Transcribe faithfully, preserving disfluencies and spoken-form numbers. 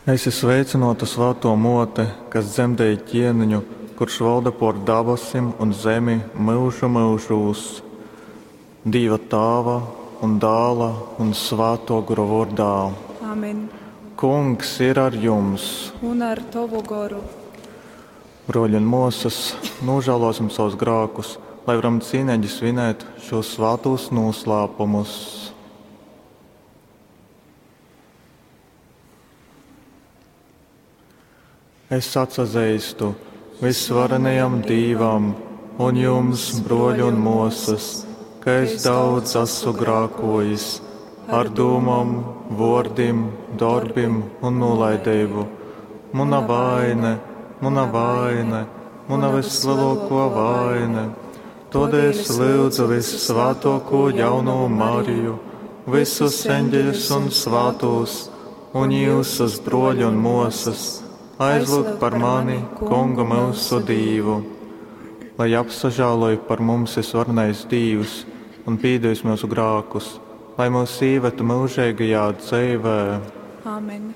Esi sveicynōta, svātō Mōte, kas dzemdēji ķieniņu, kurš valda pōr dabasim un zemi myužu myužūs. Dīva Tāva un Dāla un Svātō Gora vōrdā. Amen. Kungs ir ar jums! Un ar tovu goru. Brōļi un mōsas, nožēlosim savus grākus, lai varam cīneigi svinēt šos svātos noslēpumus. Es atsazeistu visvarenajam Dīvam un jums, brōļi un mōsas, ka es daudz esmu grākojis ar dūmom, vōrdim, dorbim un nolaidību. Muna vaine, muna vaine, muna vislielāko vaine. Todēļ es lūdzu vissvātāko jauno Mariju, visus eņģeļus un svātos, un jūsus broļu un mosas, aizlūgt par mani, Kungu mūsu Dīvu. Lai apsažāloj par mums visvarenais Dīvs un pīdevis mūsu grākus, lai mūs īvetu mūžīgajā dzīvē. Amen.